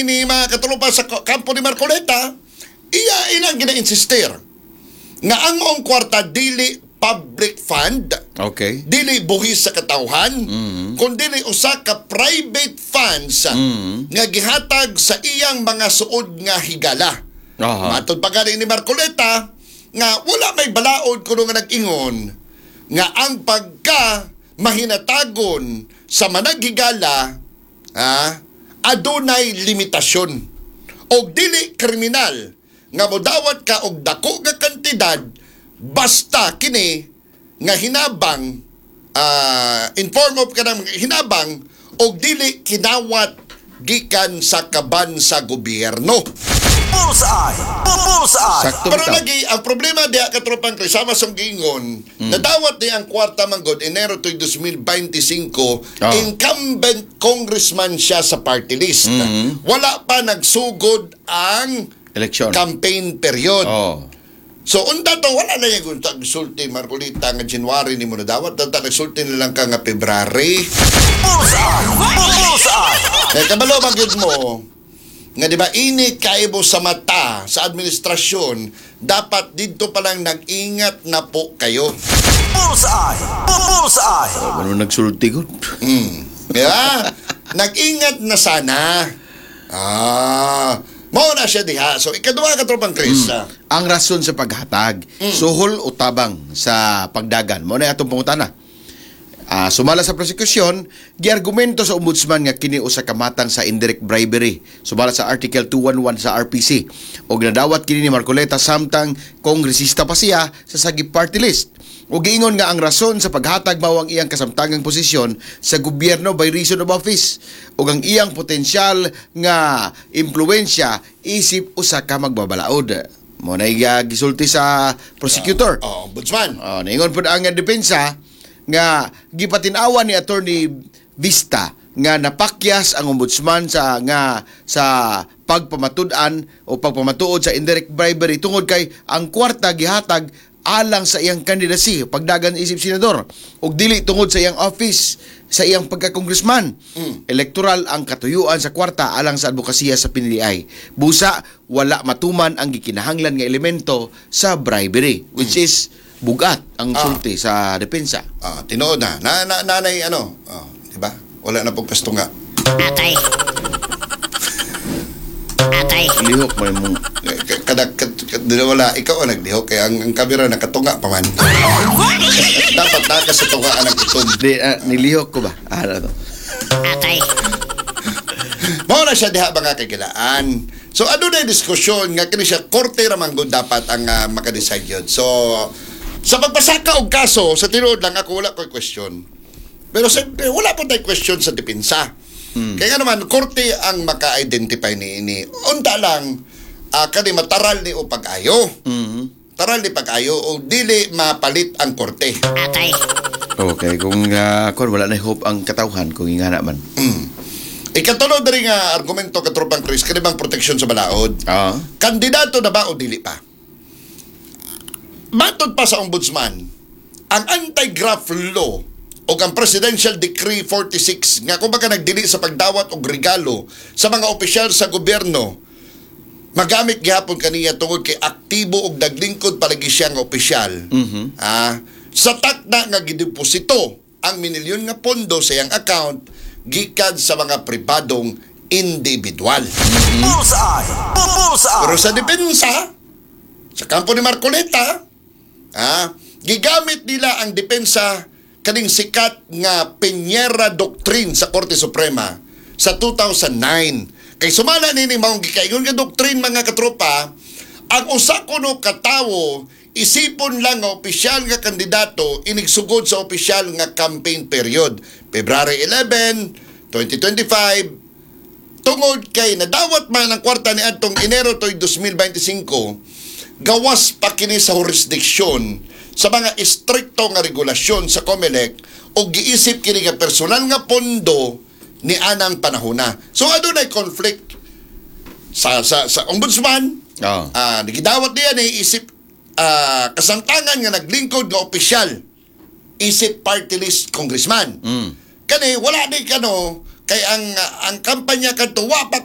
Ni mga katropa sa kampo ni Marcoleta, iya ilang gina-insister nga ang maong kwarta dili public fund, dili buhis sa katawhan, kundi usa ka private funds nga gihatag sa iyang mga suod nga higala. Matod pa gani ni Marcoleta nga wala may balaod kuno nga nag-ingon nga ang pagka mahinatagon sa managhigala adunay limitasyon og dili kriminal nga modawat ka og dako nga kantidad basta kini nga hinabang in form of kanang hinabang og dili kinawat gikan sa kaban sa gobyerno. Bullseye! Bullseye! Sakto Pero bitaw. Lagi, ang problema diha, katropang Chris, sama sa giingon, nadawat ni ang kwarta manggod Enero to 2025, incumbent congressman siya sa party list. Wala pa nagsugod ang Eleksyon. Campaign period. So unta to wala na yung sulti Marcolita nga January ni mo nadawat, tanta nagsulti na lang ka nga February. Bullseye! Bullseye! Kaya kabalo ba gyud mo nga di ba init kaibo sa mata sa administrasyon, dapat didto pa lang nag-ingat na po kayo. Bullseye! Bullseye! Ano nagsulti ko? Di ba? Nag-ingat na sana. Mao na siya diha. So ikaduha ka, tropang Chris. Ang rason sa paghatag, suhol o tabang sa pagdagan. Mao na atong pangutana. Sumala sa prosekusyon, giargumento sa ombudsman nga kini usa ka matang sa indirect bribery. Sumala sa Article 211 sa RPC. Og nadawat kini ni Marcoleta samtang kongresista pa siya sa Sagip Party List. Ug giingon nga ang rason sa paghatag mao ang iyang kasamtangang posisyon sa gobyerno by reason of office ug ang iyang potensyal nga impluwensya isip usa ka magbabalaod. Mao na gisulti sa prosecutor. Oh, ombudsman. Oh, niingon pud ang depensa nga gipatin-awan ni Attorney Vista nga napakyas ang ombudsman sa nga sa pagpamatud-an o pagpamatuod sa indirect bribery tungod kay ang kwarta gihatag alang sa iyang candidacy pagdagan isip senador ug dili tungod sa iyang office sa iyang pagka-congressman. Elektoral ang katuyuan sa kwarta alang sa advokasya sa PNDI. Busa wala matuman ang gikinahanglan nga elemento sa bribery, which is bugat ang sulti sa depensa. Tinuod na. Na, na nanay ano, oh, di ba? Wala na pong kastunga. Atay. Atay. Lihok mo mong Eh, Kada wala ikaw ang naglihok kaya ang kamera nakatunga pa man. Dapat naka sa tunga ang itom. Di, nilihok ko ba? Ano to? Atay. Mao na siya diha mga kagilaan. So ano na yung diskusyon nga kini siya korte ra man gud dapat ang makadecide yun. So sa pagpasaka og kaso sa tinuod lang ako wala ko'y question. Pero siyempre wala po tayong question sa depensa. Kaya nga naman korte ang maka-identify ni ini. Unta lang kani mataral ni o pag-ayo. Taral ni pag-ayo o dili mapalit ang korte. Atay. Okay, kung kon wala na hope ang katawhan kung ingana man. Ikatulo diri nga argumento, katropang Chris, kani bang proteksyon sa balaod? Kandidato na ba o dili pa? Matod pa sa ombudsman, ang anti-graft law o ang Presidential Decree 46 nga kumbaga nagdili sa pagdawat og regalo sa mga opisyal sa gobyerno magamit gihapon kaniya tungod kay aktibo og naglingkod palagi siya nga opisyal. Sa takna nga gideposito ang minilyon nga pondo sa iyang account gikan sa mga pribadong individual. Bullseye! Bullseye! Pero sa depensa, sa kampo ni Marcoleta, gigamit nila ang depensa kaning sikat nga Peñera Doctrine sa Korte Suprema sa 2009. Kay sumala nini maong gikaingon nga doctrine, mga katropa, ang usa kuno katawo isipon lang nga opisyal nga kandidato inigsugod sa opisyal nga campaign period February 11, 2025, tungod kay nadawat man ang kwarta ni adtong Enero toy 2025, gawas pa kini sa jurisdiksyon sa mga istrikto nga regulasyon sa COMELEC o giisip kini nga personal nga pondo ni anang panahona. So adunay conflict sa ombudsman. Gidawat niya ni isip kasamtangan nga naglingkod nga opisyal isip party list congressman. Kani wala di kano kay ang kampanya kadto wa pa.